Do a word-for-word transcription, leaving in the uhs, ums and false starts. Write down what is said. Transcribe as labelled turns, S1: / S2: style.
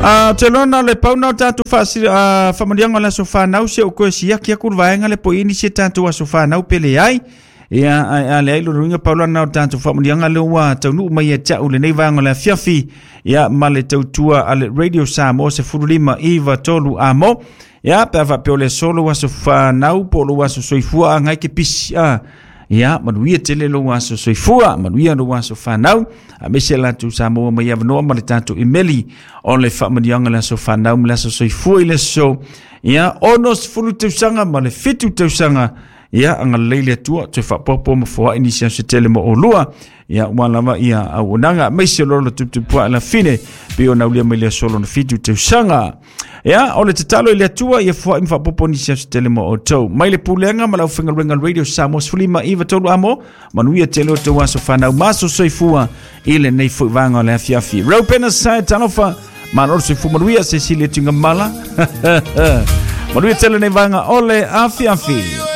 S1: A te lona le pauna o tātou whaamalianga o le aso whanau se o koe siaki aku le vaega le po ini se tātou aso whanau pele ai. Ia a le ai lo ruinga paulana o tātou whaamalianga le ua taunuu mai e tau le nei vaega o le afiafi. Ia ma le tautua a le Radio Samoa se furulima iwa tolu amo. Ia pe a whapeo le solo aso whanau po lo aso soifua a ngai ke pisi a. Ia, manuia tele lo aso soifua, manuia lo aso whanau, a mese latu Samoa mai avanoa ma le tātou imeli o le whaamanianga le aso whanau ma le aso soifua i le so. Ia, ono sefulu tausaga ma le fitu tausaga. Ia, anga leile atua, toe whaapopo ma foa inisia se tele mo olua. Ia, ua lava ia auonaga, maise lo lo tuptupua la fine, pe o naulia mai le solo na fitu tausaga. Ia, o le tatalo i le atua, ia foa ima whaapopo nisi se tele mo o tau. Mai le pulenga, ma lau whengaluenga Radio Samoa sefulima iwa tolu amo, manuia tele o tau aso whanau maso soifua i le nei fui vanga o le afiafi. Raupena sai talofa, manoro soifua manuia se sile tunga mala. Manuia tele nei vanga o le afiafi.